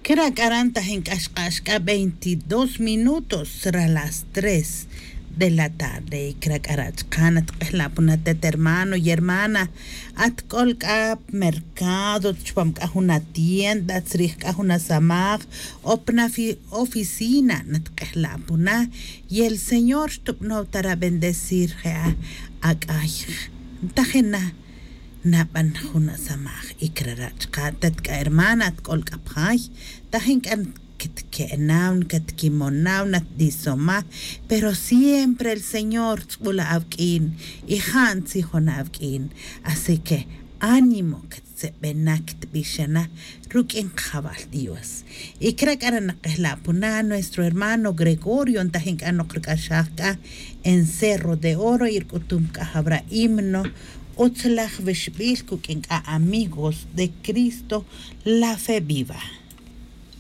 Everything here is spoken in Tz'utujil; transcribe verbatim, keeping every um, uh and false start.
Kira' k'aran taj ink'ax q'ax k'a veintidós minutos ra las tres de la tarde. Kira' k'ara' chqa' natk'ejla' puna tet hermano y hermana, atk'ol k'a pmercado, chupam k'a jun atienda, tzrij k'a jun asamaj o pna oficina, natk'ejla' puna. Y el señor xtubnow ta ra bendecir je'a ak'ay, ntajina naban jun asamaj. Y kira' ra' chqa' tet k'a hermana, atk'ol k'a pjay, taj ink'a' katke'naw, katkimonaw, natdisomaj, pero siempre el señor tz'bula' awk'in y ja' ntzijon awk'in. Así que ánimo, kattze'bena, katbixana ruk'in qajawal dios. Y kira' k'ara' nakejla' puna nuestro hermano gregorio, ntaj ink'a' nokrk'axaj k'a en cerro de oro y rk'utum k'a jawra' himno, utzlaj wixbil kuk'in k'a amigos de cristo, la fe viva.